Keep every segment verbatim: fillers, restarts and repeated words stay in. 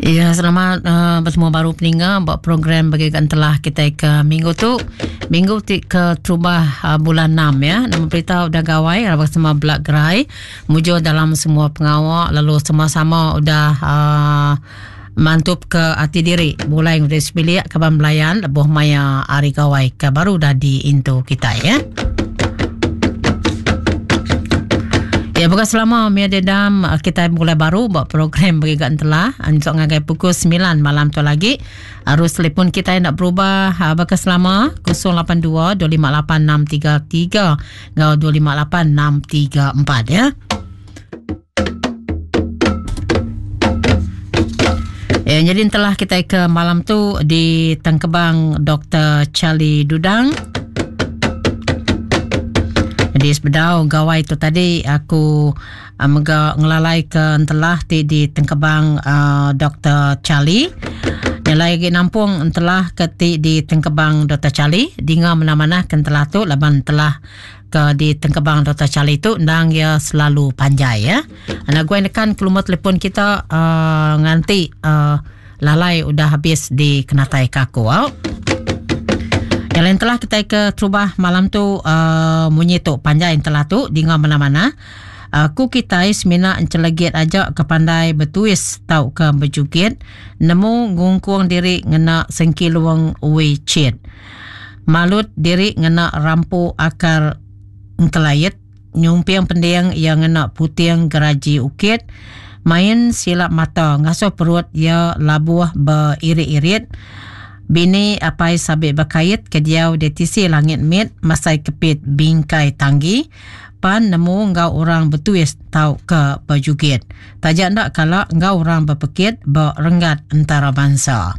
Ya, selamat uh, bertemu baru peninga buat program bagi telah kita ke minggu tu. Minggu ti ke terubah uh, bulan enam ya. Nama berita udah gawai rabak semua belak gerai. Mujur dalam semua pengawak lalu sama-sama udah uh, mantup ke hati diri. Mulai ngudi sebilik kaban belayan lebuh maya hari gawai ke baru dah di into kita ya. Ya, bukan selama Mia Dedam kita mulai baru buat program bagi telah untuk ngagai pukul sembilan malam tu lagi. Arus telefon kita nak berubah bakal selama kosong lapan dua dua lima lapan enam tiga tiga ngau dua lima lapan enam tiga empat ya. Ya, jadi telah kita ke malam tu di Tengkebang Doktor Charlie Dudang. Di sebedau gawai tu tadi aku uh, mega ngelalai ke entelah ti di Tengkebang uh, Doktor Charlie. Yang lagi nampung entelah ke ti di Tengkebang Doktor Charlie. Dinga mana-mana ke entelah tu laban entelah ke di Tengkebang Doktor Charlie tu ndang ya selalu panjai ya. Anak gue nekan ke rumah telefon kita uh, nganti uh, lalai udah habis di kenatai kaku. Oh. Yang lain telah kita ke terubah malam tu uh, munyi tu panjai telah tu dinga mana-mana. Aku uh, kita semina encelegit aja ke pandai bertuis tau ke berjugit nemu ngungkung diri ngena sengkiluang wecit. Malut diri ngena rampu akar engkelayit, nyumpiang pending yang ngena puting geraji ukit, main silap mata ngasuh perut ya labuh beririt-irit. Bini apai sabit berkait ke diau di tisi langit mit masai kepit bingkai tanggi pan nemu ngau orang bertuis tau ke berjugit. Tajak ndak kala ngau orang berpekit berenggat antara bangsa.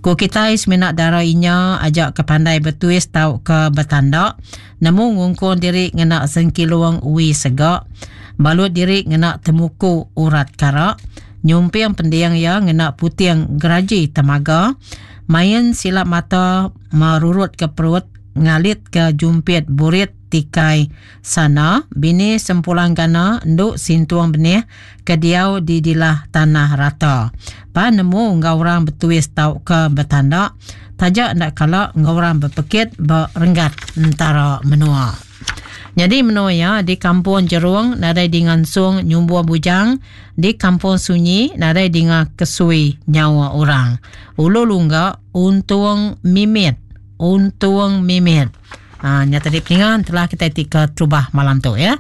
Ku kita seminat darah inya ajak ke pandai bertuis tau ke bertanda nemu ngungkun diri ngena sengkiluang ui segak balut diri ngena temuku urat karak nyumpiang pendiang ya ngena puting geraji temaga main silap mata merurut ke perut ngalit ke jumpit burit tikai sana bini sempulang gana nduk sintuang benih ke diau di dilah tanah rata pa nemu ngau orang bertuis tau ke bertanda tajak ndak kala ngau orang berpekit berenggat antara menua. Jadi menua ya di kampung Jerung nadai dingansung nyumbua bujang, di kampung Sunyi nadai dinga kesui nyawa orang. Ulu lungga untung mimit, untung mimit. Ha, nyata di peningan telah kita tika terubah malam tu ya.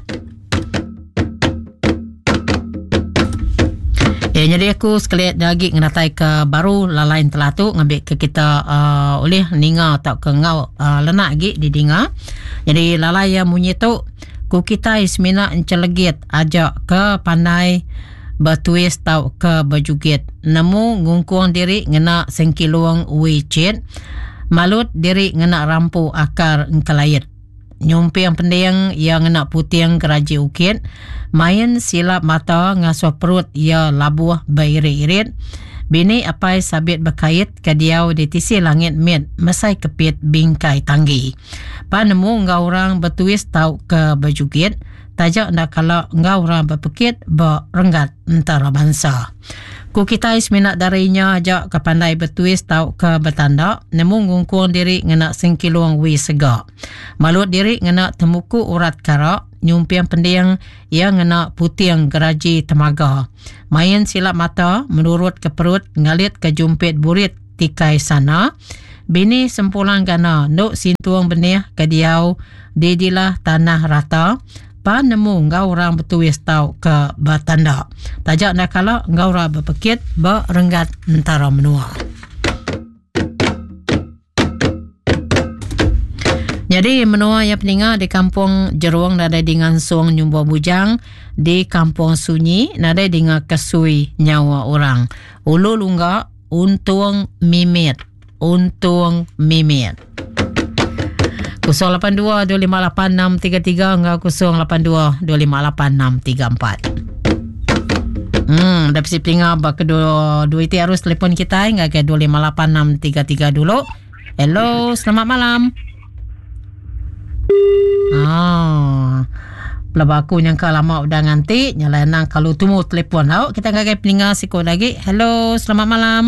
Ya, jadi aku sekali lagi ngenatai ke baru lalain telah tu ngambil ke kita uh, oleh ninga atau ke ngau uh, lenak lagi di dinga. Jadi lalai yang munyi tu ku kita semina encelegit ajak ke pandai bertuis tau ke berjugit. Nemu ngungkung diri ngena sengkiluang wecit, malut diri ngena rampu akar engkelayit. Nyumpiang pending ia ngena puting geraji ukit, main silap mata ngasuh perut ia labuh beririt-irit. Bini apai sabit berkait ke diau di tisi langit mit mesai kepit bingkai tanggi. Pa nemu ngau orang bertuis tau ke berjugit, tajak ndak kala ngau orang berpekit berenggat antara bangsa. Ku kita seminat darinya ajak ke pandai bertuis tau ke bertanda, nemu ngungkung diri ngena sengkiluang wi segak. Malut diri ngena temuku urat karak, nyumpiang pending ia ngena puting geraji temaga. Main silap mata menurut ke perut ngalit ke jumpit burit tikai sana. Bini sempulang gana nduk sintuang benih ke diau di dilah tanah rata. Pa nemu ngau orang bertuis tau ke bertanda. Tajak nak kala ngau orang berpekit berenggat antara menua. Jadi menua yang peninga di kampung Jeruang nadai dengan suang nyumbuh bujang, di kampung Sunyi nadai dengan kesui nyawa orang. Ulu lungga untung mimit, untung mimit. kosong lapan dua dua lima lapan enam tiga tiga enggak kosong lapan dua dua lima lapan enam tiga empat. Hmm, dah pesi pelinga bak kedua dua itu harus telefon kita enggak ke dua lima lapan enam tiga tiga dulu. Hello, selamat malam. Ah. Pelaba aku nyangka lama udah nganti nyalai nang kalau tumu telefon au kita ngagai peninga siku lagi. Hello, selamat malam.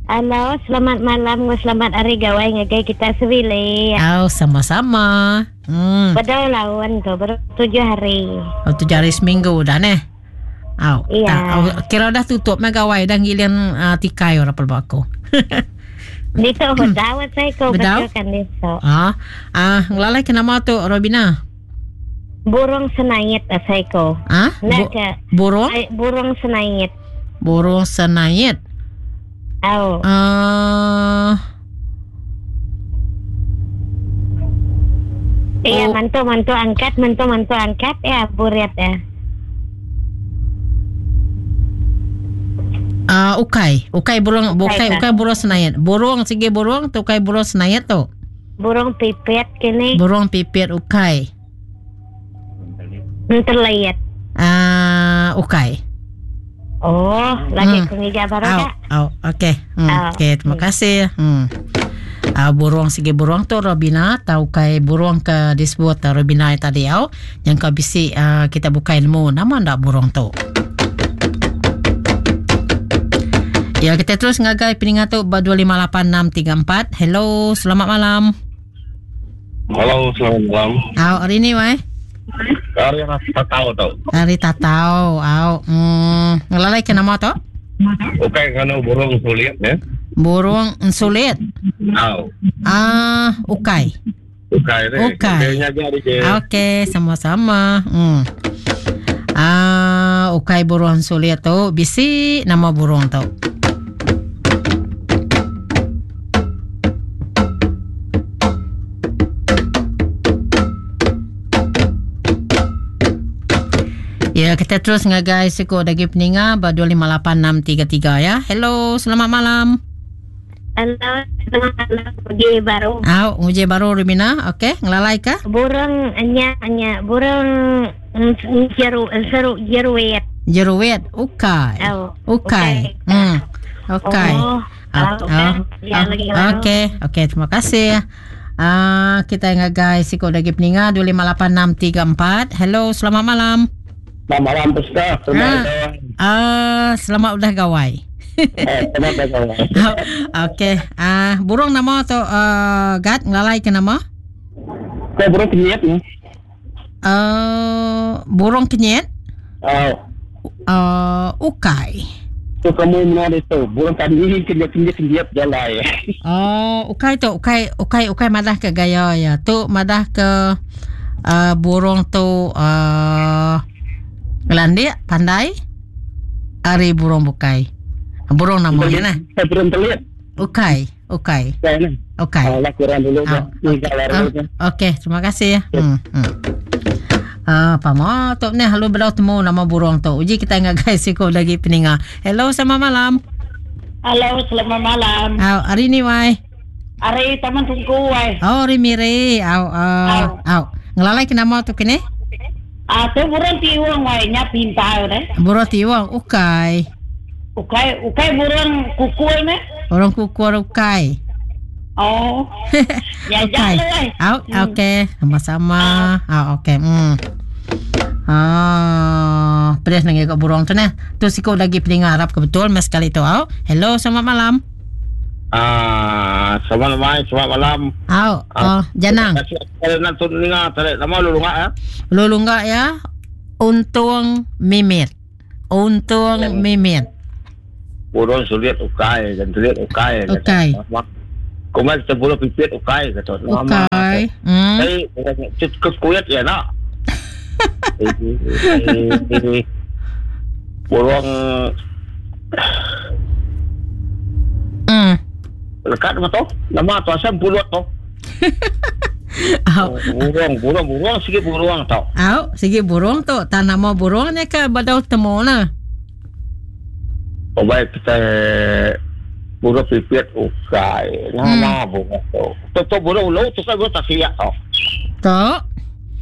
Halo, selamat malam, selamat hari gawai ngagai kita sebili. Au, sama-sama. Hmm. Bedau lawan tu, baru tujuh hari. Oh, tujuh hari seminggu dah neh. Au, Iya. tak, au, kira dah tutup mah gawai dah ngilian uh, tikai orang pelaba aku. Dito bedau saya ko Bedau? betul kan dito. Ah, ah ngelalai ke nama tu Robina? Burung senait asai ko. Ah, Nak bu- ke burung? ay, burung senait. Burung senait. Au. Ah, Iya, Oh. mantu mantu angkat, mantu mantu angkat ya buret ya. ah ukai, ukai burung, bukai tak. ukai burung senait. Burung sigi burung tu ukai burung senait tu. Burung pipit kini Burung pipit ukai. entelayat. Ah, ukai. Oh, lagi Hmm. hmm. kengija baru Au, kak. au, okey. Hmm, Au. okey, terima kasih. Hmm. Ah, burung sigi burung tu Robina tahu kai burung ke disebut uh, Robina tadi au yang kau bisi uh, kita buka ilmu nama ndak burung tu. Ya, kita terus ngagai peningat tu ba dua lima lapan enam tiga empat. Hello, selamat malam. Halo, selamat malam. Au, hari ni wai. Hari yang tak tahu tau. Hari tatau. Au, hmm, ngelalai ke nama tu? Oke, kalau burung sulit ya. Burung sulit. Au. Ah, ukai. Oke, deh. Oke. Kayaknya jadi ke. Okey, sama-sama. Hmm. Ah, ukai burung sulit tu bisi nama burung tu. Ya, kita terus ngagai siku dagi peninga ba dua lima lapan enam tiga tiga ya. Hello, selamat malam. Halo, selamat malam pergi baru. Au, nguji baru Rumina. Okey, ngelalai ke? Burung nya nya burung mm, jeru seru jeruit. Jeruit, ukai. Au, Ukai. ukai. Hmm. Ukai. Oh, Ah, au, ah, ya, ah, lagi baru. Okey, okey, terima kasih. Ah, kita ngagai siku lagi peninga dua lima lapan enam tiga empat. Hello, selamat malam. Selamat malam, Pesca. Selamat Ah. gawai. Ah, selamat udah gawai. Eh, selamat gawai. Okey. Ah, burung nama tu uh, Gad ngelalai ke nama? Kau burung kenyit ni? Uh, burung kenyit. Au. Uh, ukai. Tu kamu mana itu? Burung tadi kenyit kenyit kenyit jalan. Oh, ukai tu, ukai ukai ukai madah ke gaya ya. Tu madah ke uh, burung tu uh, ngelandik, pandai. Ari burung bukai. Burung namanya nah. Saya burung telit. Ukai, ukai, Saya ni. ukai. Ah, lah kurang dulu. Ah, Ni galar dulu. Ah, okey, terima kasih ya. Hmm. hmm. Ah, apa mau tu ni halu belau temu nama burung tu. Uji kita ngagai siku lagi peninga. Hello, selamat malam. Halo, selamat malam. Ah, hari ni wai. Ari Taman Tungku wai. Oh, hari mire. Au, au, au. Ngelalai ke nama tu kini? Ah, tu burung tiwang wai nya pintar deh. Burung tiwang ukai. Ukai ukai burung kukul ne. Orang kukur ukai. Oh. Ya Ukai. jalan wai. Au, okey, sama-sama. Ah, okey. Hmm. Ah, pedas nang ikut burung tu nah. Tu siku lagi peninga harap ke betul mas kali tu au. Hello, selamat malam. Ah, selamat malam, selamat malam. Au, oh, janang. Terima kasih kepada nak tu dengar, tarik nama lu lunga ya. Lu lunggak ya. Untung mimit. Untung mimit. Burung sulit ukai, dan sulit ukai. Ukai. Kuman sepuluh pipit ukai kata. Nama. Ukai. Hmm. Eh, cukup kuat ya nak. Burung Hmm. lekat nama tu? Nama tu asam pulut tu. Au. Burung, burung, burung sikit burung tau. Au, sigi burung tu. Tak nama burungnya ke badau temu lah. Oh baik kita burung pipit ukai. Nama burung tu. Tu tu burung lu tu kan burung tak siap tau. Tu.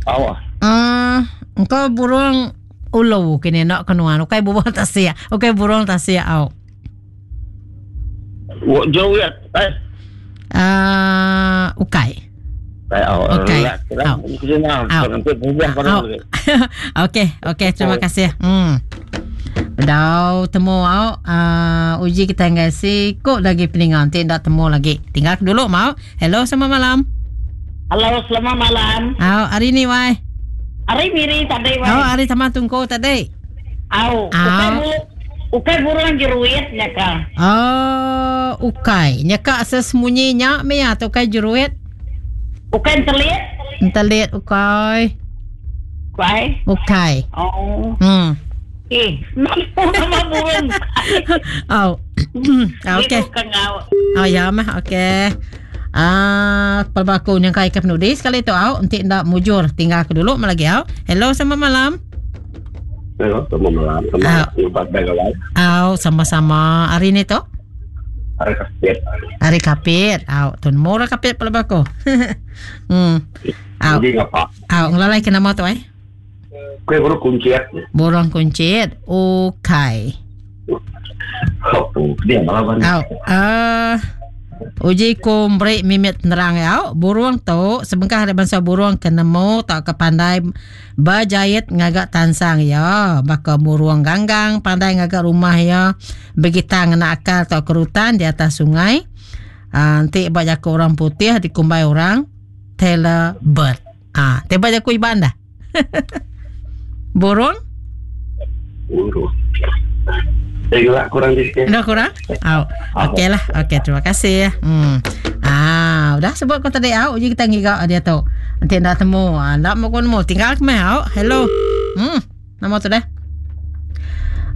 Tahu ah. Ah, engkau burung ulu kini nak kenuan. Ukai burung tak siap. Ukai burung tak siap au. Jauh ya. Eh, Ah, ukai. Okey. Okey, okey, terima kasih. Hmm. Bedau temu au uh, uji kita ngai sikuk lagi peningan nanti ndak temu lagi. Tinggal dulu mau. Hello, selamat malam. Halo, selamat malam. Au, hari ni wai. Hari miri tadi wai. Oh, hari sama tunggu tadi. Au, ukai bulu, ukai burung jeruit nyaka. Oh, ukai. Nyaka sesembunyi nyak me atau ukai jeruit? Ukai entelit? Entelit ukai. Ukai. Ukai. Oh. Hmm. Eh, nama burung. Oh. Okey. Oh ya mah, okey. Ah, pelbaku yang kai ke penudi sekali tu au, nanti ndak mujur tinggal aku dulu lagi au. Hello, selamat malam. Hello, selamat malam. Selamat malam. Au, sama-sama. Hari ni tu? Hari kapit. Hari kapit. Au, tun murah kapit pelbaku. Hmm. Au. Au, ngelalai ke nama tu ai? Kue burung kuncit. Burung kuncit. Okey. Oh, dia malam. Au, ah uji ku beri mimit nerang ya. Burung tu sebengkah ada bangsa burung kenemu tak ke pandai berjahit ngagak tansang ya. Baka burung ganggang pandai ngagak rumah ya. Begita ngena akal atau kerutan di atas sungai. Ah, nanti buat jaku orang putih dikumbai orang tailor bird. Ah, tiba jaku iban dah. Burung? Burung. Eh, kurang di sini. Dah kurang? Oh, okey lah. Okey, terima kasih. Hmm. Ah, udah sebut kau tadi au, uji kita ngigak dia tu. Nanti dah temu. Ah, nak mau kau tinggal ke mai au. Hello. Hmm, nama tu dah.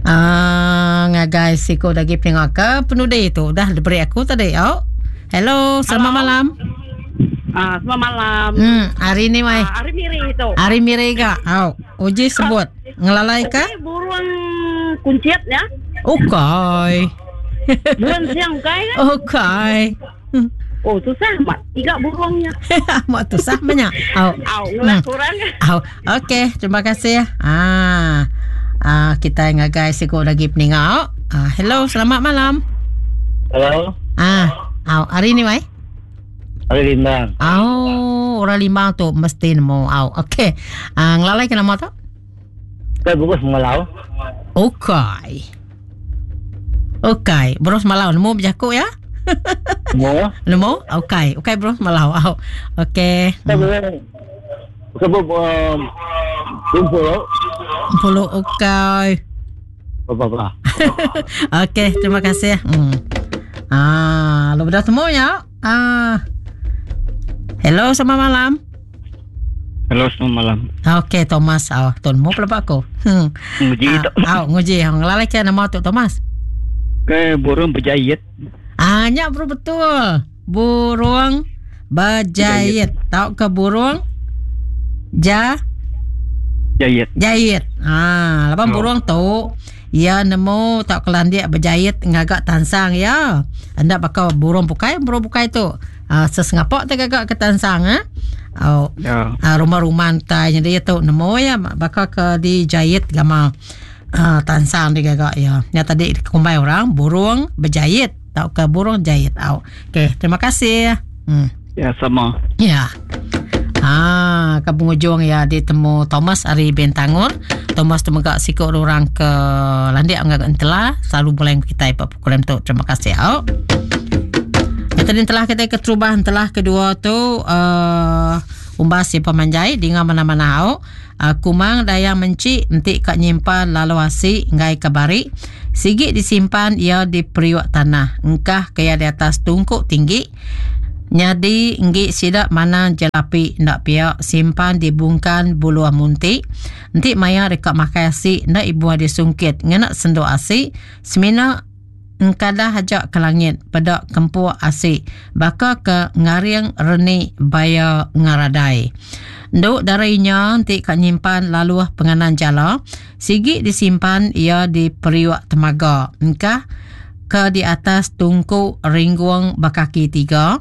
Ah, ngagai siko lagi pengak ke penudi tu dah diberi aku tadi au. Hello, selamat Hello. malam. Ah, selamat malam. Hmm, hari ni mai. Ah, hari miri itu. Hari miri ga. Au, uji sebut. Ngelalai ke? Okay, burung kuncit ya. Okey. Burung siang ukai kan? Okey. Oh, susah mak tiga burungnya. Mak susah banyak. Au. Au, hmm. kurang. Au. Okey, terima kasih. Ah. Ah, kita ngagai sikit lagi peninga. Ah, hello, selamat malam. Hello. Ah, au, hari ni mai? Hari Limbang. Au, orang Limbang tu mesti nemu. Au, okey. Ah, ngelalai ke nama tu? Saya burung semalau. Okey. Okey, burung semalau nemu berjakuk ya? Nemu. Nemu? Okey, okey burung semalau. Au. Okey. Hmm. Sebab um, kumpul. Kumpul okey. Apa-apa. Okey, terima kasih. Hmm. Ah, lu dah temu ya? Ah. Hello, selamat malam. Hello, selamat malam. Okey, Thomas. Ah, oh, temu pula aku. Hmm. Nguji tu. Ah, nguji. Ngelalai ke nama tu Thomas? Ke burung berjahit. Ah, nyak bro betul. Burung berjahit. Tahu ke burung ja jahit. Jahit. Ah, lapan oh. Burung tu ya nemu tak kelandik berjahit ngagak tansang ya. Anda bakal burung pukai, burung pukai tu. Ah, sesengapak tak gagak ke tansang ah. Oh. Ya. Ah, rumah-rumah tai jadi tu nemu ya bakal ke dijahit gama. Ah, tansang dia gagak ya. Yang tadi kumbai orang burung berjahit atau ke burung jahit. Au. Okey, terima kasih. Hmm. Ya, sama. Ya. Ah, ke penghujung ya ditemu Thomas ari Bintangor. Thomas tu megak sikok orang ke landik ngagak entela selalu boleh kita ipak program tu. Terima kasih. Au. Tadi telah kita keterubah telah kedua tu uh, umbas si pemanjai dengan mana-mana au. Uh, kumang dayang mencik entik kat nyimpan lalu asi ngai kabari sigit disimpan ia di periuk tanah engkah kaya di atas tungkuk tinggi nyadi nggik sidak mana jelapi ndak pia simpan di bungkan bulu muntik entik maya dekat makai asi ndak ibu ada sungkit ngena sendok asi semina engkadah hajak ke langit pedak kempuk asik baka ke ngaring renik baya ngaradai. Nduk darinya entik kat nyimpan laluh penganan jala sigit disimpan ia di periuk temaga engkah ke di atas tungku ringguang bakaki tiga.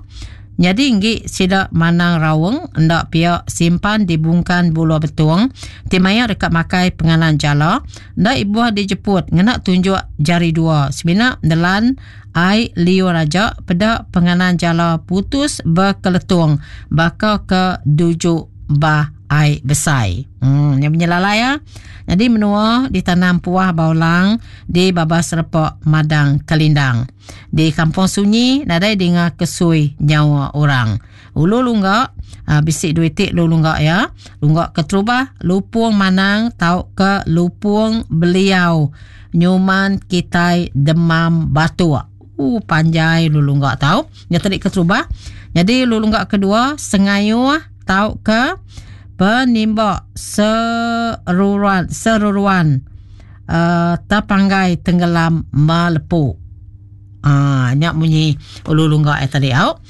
Nyadi enggi sida manang raung enda pia simpan di bungkan buluh betung ti maya deka makai penganan jala enda ibuh dijeput ngena tunjuk jari dua semina nelan ai liur aja peda penganan jala putus bekeletung baka ke dujuk bah ai besai. Hmm, yang menyelalai ya. Jadi menua ditanam puah baulang di babas repak madang kelindang. Di kampung sunyi nadai dengar kesui nyawa orang. Ulu lunggak uh, bisik duit tik lu lunggak ya. Lunggak keterubah lupung manang tau ke lupung beliau nyuman kitai demam batuk. Uh, panjai lu lunggak tau. Yang tadi keterubah. Jadi lu lunggak kedua sengayuh tau ke penimbak seruran seruruan uh, terpanggai tenggelam melepu. Ah, nyak bunyi ulu lunggak eh tadi au.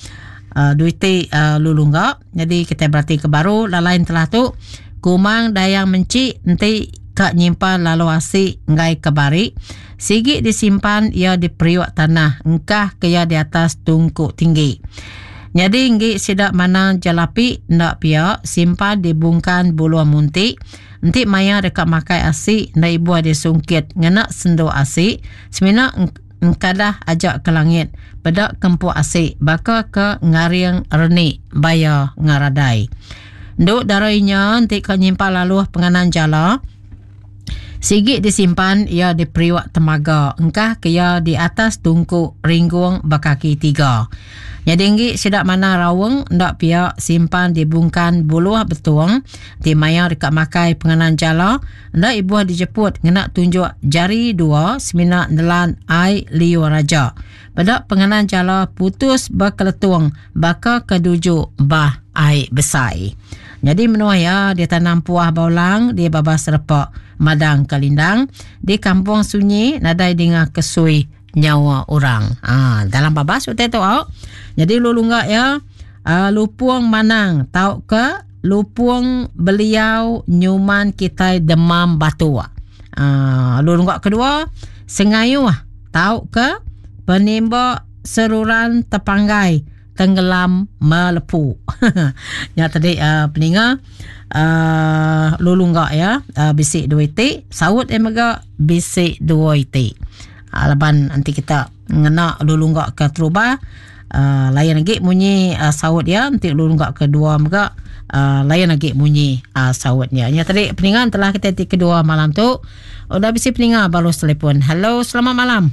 Uh, duiti uh, ulu lunggak. Jadi kita berarti ke baru lalain telah tu kumang dayang mencik enti kak nyimpan lalu asik ngai ke bari. Sigi disimpan ia di periuk tanah engkah ke ia di atas tungku tinggi. Jadi enggi sidak manang jelapi ndak pia simpan di bungkan bulu muntik. Enti maya dekat makai asik ndak ibu ada sungkit ngena senduk asik semina engkadah ajak ke langit pedak kempuk asik baka ke ngaring renik baya ngaradai. Nduk darainya enti ka nyimpan laluh penganan jala sigi disimpan ia di periuk temaga engkah ke ia di atas tungku ringgung berkaki tiga. Jadi enggi sidak mana rawung ndak pia simpan di bungkan buluh betung di maya dekat makai penganan jala ndak ibu dijeput ngena tunjuk jari dua semina nelan ai liur raja. Pada penganan jala putus berkeletung baka kedujuk bah ai besai. Jadi menua ya dia tanam puah baulang di babas repak madang kalindang di kampung sunyi nadai dengar kesui nyawa orang. Ah, dalam babas utai tu au. Jadi lu lunggak ya uh, lupung manang tau ke lupung beliau nyuman kitai demam batu. Ah, lu lunggak kedua sengayuh tau ke penimbak seruran terpanggai tenggelam melepu. Ya tadi uh, peninga uh, lu lunggak ya uh, bisik dua itik saut eh mega bisik dua itik. Uh, laban nanti kita ngena lu lunggak ke terubah uh, lain lagi bunyi uh, saut ya nanti lu lunggak kedua mega uh, lain lagi bunyi uh, sautnya. Ya tadi peningan telah kita ti kedua malam tu. Udah bisik peninga baru telefon. Hello, selamat malam.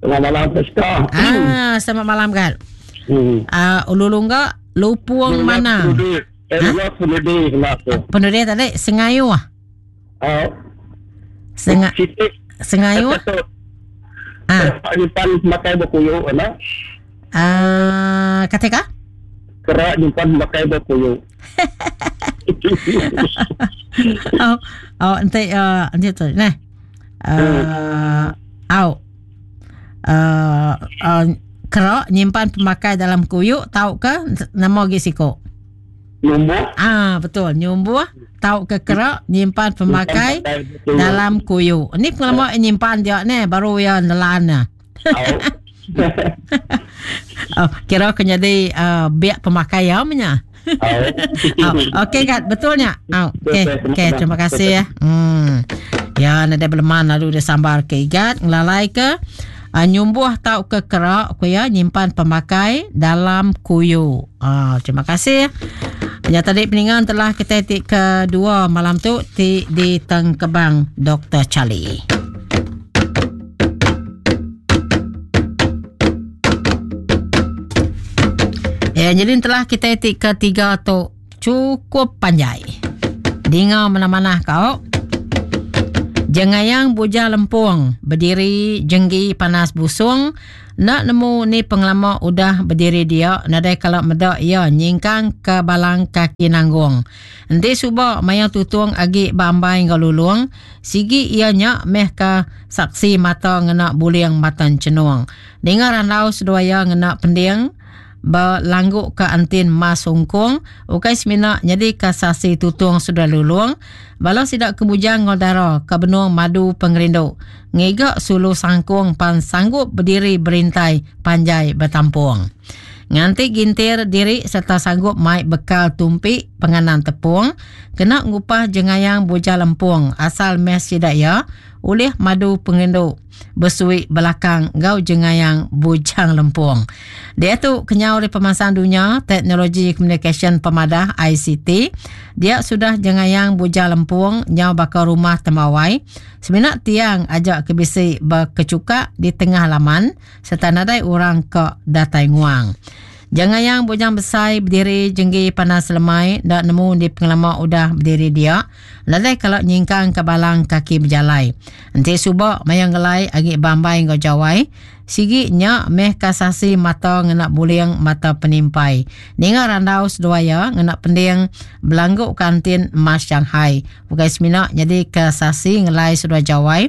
Selamat malam Priska. Ah, selamat malam kan. Hmm. Uh, ulu lunggak lupung mana? Penudih, penudih tadi sengayuh. Uh, Senga sengayuh. Ah, nyimpan makai berkuyuk ana. Ah, kata ka? Kerak nyimpan makai berkuyuk. Oh, oh, ente uh, ente tu. Nah. Uh, au. Uh, uh, kerak nyimpan pemakai dalam kuyuk tau ke nama gi siko? Nyumbuh. Ah, betul, nyumbuh tau ke kerak nyimpan pemakai dalam kuyuk. Ni pengalaman nyimpan dia ni baru ya nelan nah. Oh, kira kena jadi uh, biak pemakai ya nya. Oh, okey kat betulnya. Oh, okey, okey, terima kasih ya. Hmm. Ya, nada beleman lalu dia sambar ke igat ngelalai ke uh, nyumbuh tau ke kerak ku ya nyimpan pemakai dalam kuyu. Ah, terima kasih. Ya tadi peningan telah kita tik kedua malam tu ti di Tengkebang Doktor Charlie. Ya, jadi telah kita tik ketiga tu cukup panjai. Dengar mana-mana kau. Jengayang buja lempung berdiri jenggi panas busung nak nemu ni pengelama udah berdiri dia nadai kalau medak ia nyingkang ke balang kaki nanggung. Enti suba maya tutung agi bambai ngau lulung sigi ia nyak meh ke saksi mata ngena buling matan cenuang. Dengar randau seduaya ngena pending berlangguk ke antin mas ungkung ukai semina jadi kasasi tutung sudah lulung balau sidak kebujang ngol dara ke benung madu pengerindu ngigak sulu sangkung pan sanggup berdiri berintai panjai bertampung. Nganti gintir diri serta sanggup mai bekal tumpi penganan tepung kena ngupah jengayang bujang lempung asal meh sida iya ulih madu pengerindu besui belakang enggau jengayang bujang lempung. Diatu kenyau ari pemansang dunya teknologi komunikasyen pemadah I C T dia sudah jengayang bujang lempung nyau baka rumah tembawai semina tiang aja ke bisi berkecukak di tengah laman serta nadai orang ke datai nguang. Jengayang bujang besai berdiri jenggi panas lemai dak nemu di pengelama udah berdiri dia nadai kalau nyingkang ke balang kaki berjalai. Enti subak mayang ngelai agi bambai enggau jawai sigi nya meh kasasi mata ngena buling mata penimpai. Ninga randau seduaya ngena pending belangguk kantin emas Shanghai. Bukai semina jadi kasasi ngelai seduai jawai.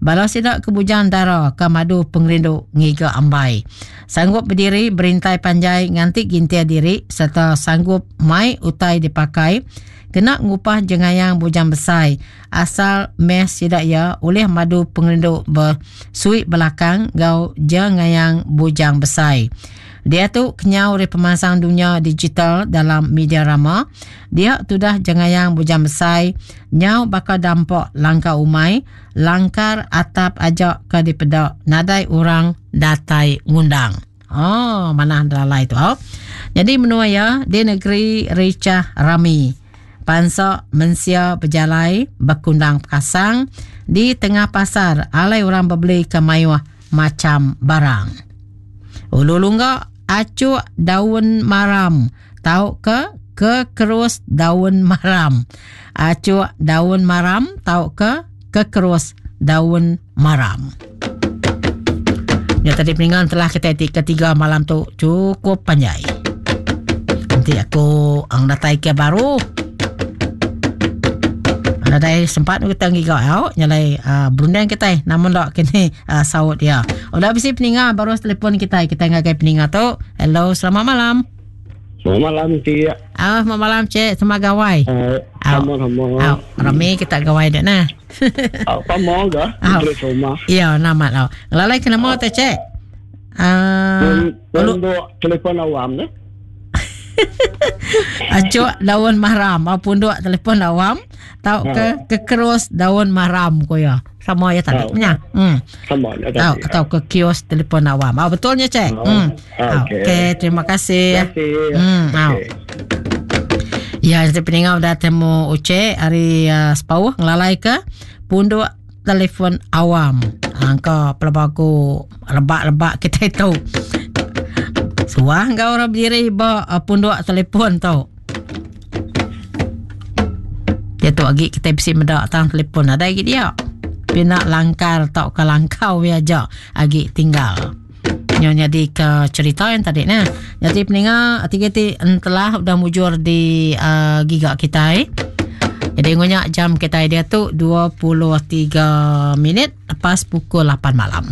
Bala sida ke bujang dara ke madu pengerindu ngiga ambai. Sanggup berdiri berintai panjai nganti gintir diri serta sanggup mai utai dipakai kena ngupah jengayang bujang besai asal meh sida ia oleh madu pengerindu bersuit belakang gau jengayang bujang besai. Dia tu kenyau dari pemansang dunia digital dalam media rama. Dia tudah jengayang bujang besai nyau bakal dampak langkah umai langkar atap ajak ke dipedak nadai orang datai ngundang. Oh, mana lalai tu. Oh. Jadi menua ya di negeri Ricah Rami. Pansak mensia berjalai berkundang pasang di tengah pasar alai orang berbeli ke mayuh macam barang. Ulu lunggak acuk daun maram tau ke ke kerus daun maram. Acuk daun maram tau ke ke kerus daun maram. Ya tadi peninggalan telah kita etik ketiga malam tu cukup panjai. Nanti aku ang datai ke baru. Nadai sempat kita ngiga au nyalai uh, berundang kita namun dok kini uh, saut dia. Udah bisi peninga baru telefon kita kita ngagai peninga tu. Hello, selamat malam. Selamat malam cik. Ah, selamat malam cik, selamat gawai. Uh, sama-sama. Au, rami kita gawai dak nah. Au, sama ga? Rumah. Ya, nama lau. Lalai kena mau teh cik. Ah, uh, telefon awam ne. Acuk daun mahram, au punduk telefon awam, tau ke kekerus daun mahram ko ya. Sama ya tadi punya. Hmm. Sama ya tadi. Tau atau ke kios telefon awam. Ah betulnya cek. Hmm. Okey, okay, terima kasih. Terima kasih. Hmm. Okay. Ya, jadi peninggal dah temu Uce hari uh, sepauh ngelalai ke punduk telefon awam. Angka pelabaku lebak-lebak kita itu. Suah kau orang berdiri ba uh, punduk telefon tu. Dia tu lagi kita bisi medak tang telefon ada lagi dia. Pina langkar tau ke langkau ya aja agi tinggal. Nyo jadi ke cerita yang tadi nah. Jadi peninga tiga ti entelah udah mujur di uh, giga kita. Eh. Jadi ngunyak jam kita dia tu dua puluh tiga minit lepas pukul lapan malam.